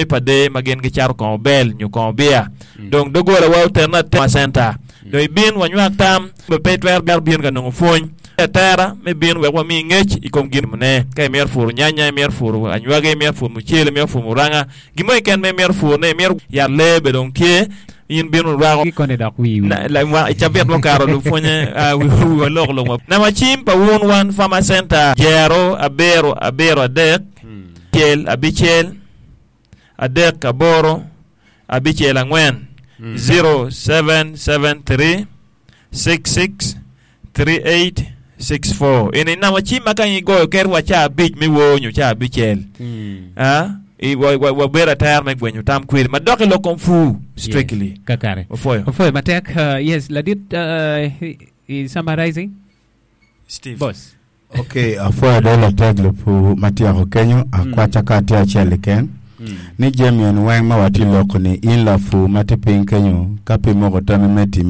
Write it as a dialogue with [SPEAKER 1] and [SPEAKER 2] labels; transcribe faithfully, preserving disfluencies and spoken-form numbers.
[SPEAKER 1] Pa dee ma gin gicato kongo bel nyo kongo bia. Dong doggola wa otene atena center. Dong ibin wanywak tam pe itwero bino ka nongo pwony atera me bino wek wami ngec i kom gin ne. Ka imito puro nyanya, imito puro anywagi, imito puro mucele, imito puro muranga, gin mo keken ma imito purone, imito yat lee bene dong tye, in bino rwako.
[SPEAKER 2] Gikone dok wi wi.
[SPEAKER 1] Na, la, i cabit mukato lupwonye uh, wiwa loko lok. Namba cim pa wun wan Farmer Center jero abiro abiro adek cel abicel adek aboro abicel angwen zero seven seven three six six three eight six four. Ini namba cim ma ka in igoyo keri wa ca abic me wor nyo ca abicel. Ah, i wa, wa, wabedo atera me gwenyo tam kwedi madok i lok kom pur strictly.
[SPEAKER 2] Yes, kakare.
[SPEAKER 1] Opwoyo.
[SPEAKER 2] Opwoyo matek. Uh, yes, ladit uh, i summarizing.
[SPEAKER 1] Steve.
[SPEAKER 2] Boss.
[SPEAKER 3] Ok, apwoyo do latek lupu ma tyeko kenyo akwaca ka tye acel keken ni jami en weng ma watye loko ni in lapur ma tye piny kenyo ka pe imoko tammi me timo